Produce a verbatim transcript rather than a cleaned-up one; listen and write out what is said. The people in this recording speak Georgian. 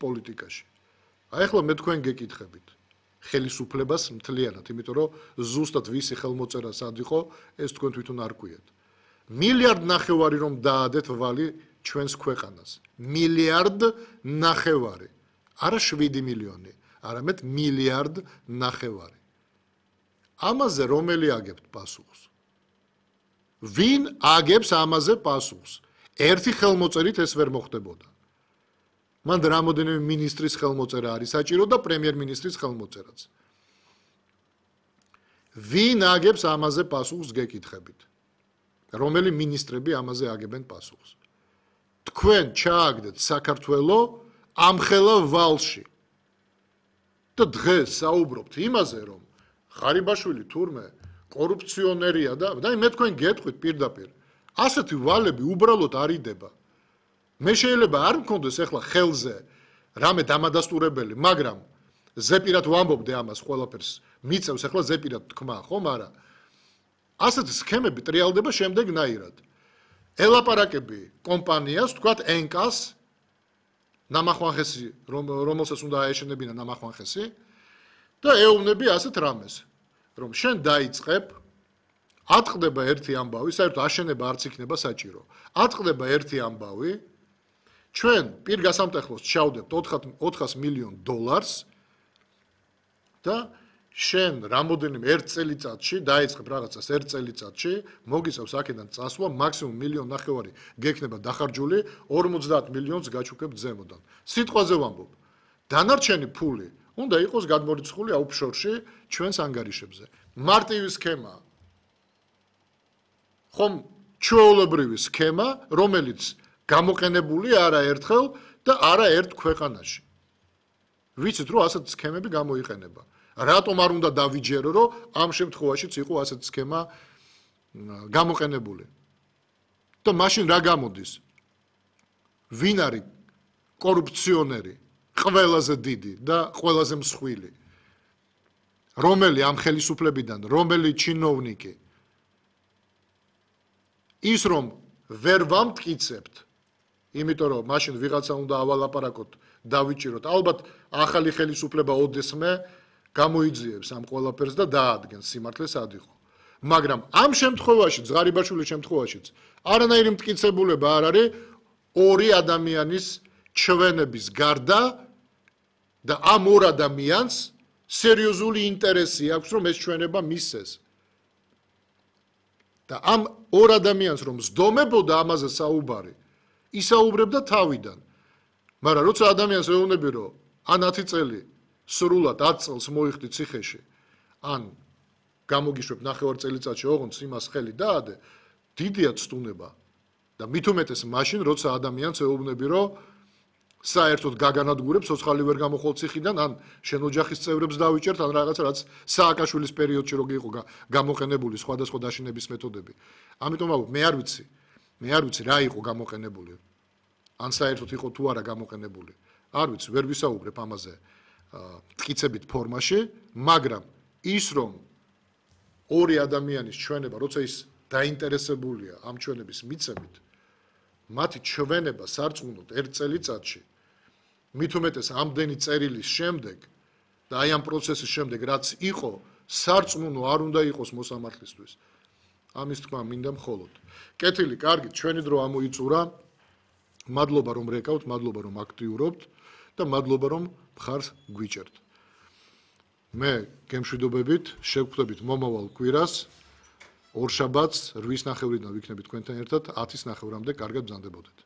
პოლიტიკაში. აი ახლა მე თქვენ გეკითხებით ხელისუფლებას მთლიანად, იმიტომ რომ ზუსტად ვისი ხელმოწერა სად იყო, ეს თქვენ თვითონ არ გვიათ. მილიარდ ნახევარი რომ დაადეთ ვალი ჩვენს ქვეყანას. მილიარდ ნახევარი. არა შვიდი მილიონი, არამედ მილიარდ ნახევარი. ამაზე რომელი აგებთ პასუხს? ვინ აგებს ამაზე პასუხს? ერთი ხელმოწერით ეს ვერ მოხდებოდა. მან რამოდენიმე მინისტრის ხელმოწერა არის საჭირო და პრემიერ-მინისტრის ხელმოწერაც. ვინ აგებს ამაზე პასუხს გეკითხებით? რომელი მინისტრები ამაზე აგებენ პასუხს? თქვენ ჩააგდეთ საქართველო ამხელა ვალში. და დღეს საუბრობთ იმაზე, რომ ღარიბაშვილი თურმე კორუფციონერია და და მე თქვენ გეტყვით პირდაპირ. ასეთი ვალები უბრალოდ არ იდება. მე შეიძლება არ მქონდეს ახლა ხელზე რამე დამადასტურებელი, მაგრამ ზეპირად ვამბობდე ამას ყველაფერს. მიწევს ახლა ზეპირად თქმა, ხომ არა? ასეთი სქემები ტრიალდება შემდეგნაირად. ელაპარაკები კომპანიას, თქვათ ენკას, ნამახვანხესი, რომელსაც უნდა აეშენებინა ნამახვანხესი და ეუბნები ასეთ რამეს, რომ შენ დაიწყებ, ატყდება ერთი ამბავი, საერთოდ აშენება არც იქნება საჭირო. ატყდება ერთი ამბავი, ჩვენ პირგასამტეხლოს ჩავდებთ ოთხას მილიონ დოლარს და შენ რამოდენიმე ერთ წელიწადში დაიწყებ რაღაცას ერთ წელიწადში, მოგიწევს აქედან წასვლა, მაქსიმუმ მილიონ ნახევარი გექნება დახარჯული, ორმოცდაათ მილიონს გაჩუქებ ზემოდან. სიტყვაზე ვამბობ. დანარჩენი ფული უნდა იყოს გადმორიცხული აუფშორში ჩვენს ანგარიშებზე. მარტივი სქემაა. ხომ ჩვეულებრივი სქემა, რომელიც გამოყენებული არაერთხელ და არაერთ ქვეყანაში. ვიცით, რომ ასეთი სქემები გამოიყენება. რატომ არ უნდა დავიჯერო, რომ ამ შემთხვევაშიც იყო ასეთი სქემა გამოყენებული. და მაშინ რა გამოდის? ვინ არის კორუფციონერი, ყველაზე დიდი და ყველაზე მსხვილი? რომელი ამ ხელისუფლებიდან, რომელი ჩინოვნიკი? ის რომ ვერ ვამტკიცებთ, იმიტომ რომ მაშინ ვიღაცა უნდა ავალაპარაკოთ, დავიჭიროთ. ალბათ ახალი ხელისუფლება ოდესმე გამოიძიებს ამ ყველაფერს და დაადგენს სიმართლე სად იყო. მაგრამ ამ შემთხვევაში, ღარიბაშვილის შემთხვევაშიც, არანაირი მტკიცებულება არ არის ორი ადამიანის ჩვენების გარდა და ამ ორ ადამიანს სერიოზული ინტერესი აქვს, რომ ეს ჩვენება მისცეს. და ამ ორ ადამიანს რომ სდომებოდა ამაზე საუბარი, ისაუბრებდა თავიდან. მაგრამ როცა ადამიანს ეუბნები, რომ ან ათი წელი სრულად ათ წელს მოიხდი ციხეში, ან გამოგიშვებ ნახევარ წელიწადში ოღონდ იმას ხელი დაადე, დიდია ცდუნება. და მით უმეტეს მაშინ, როცა ადამიანს ეუბნები, რომ საერთოდ გაგანადგურებ, ცოცხალი ვერ გამოხვალ ციხიდან, ან შენ ოჯახის წევრებს დავიჭერთ, ან რაღაცა, რაც სააკაშვილის პერიოდში რო იყო გამოყენებული სხვადასხვა დაშინების მეთოდები. ამიტომ ვამბობ, მე არ ვიცი, მე არ ვიცი რა იყო გამოყენებული. ან საერთოდ იყო თუ არა გამოყენებული. არ ვიცი, ვერ ვისაუბრებ ამაზე მტკიცებით ფორმაში, მაგრამ ის რომ ორი ადამიანის ჩვენება, როცა ის დაინტერესებულია ამ ჩვენების მიცემით, მათი ჩვენება სარწმუნოდ ერთ წელიწადში, მით უმეტეს ამდენი წერილის შემდეგ და აი ამ პროცესის შემდეგ, რაც იყო, სარწმუნო არ უნდა იყოს მოსამართლისთვის. ამის თქმა მინდა მხოლოდ. კეთილი, კარგი, ჩვენი დრო ამოიწურა. მადლობა რომ რეკავთ, მადლობა რომ აქტიურობთ და მადლობა რომ მხარს გვიჭერთ. მე გემშვიდობებით შევხვდებით მომავალ კვირას, ორშაბათს რვის ნახევრიდან ვიქნებით თქვენთან ერთად, ათის ნახევრამდე კარგად ბრძანდებოდეთ.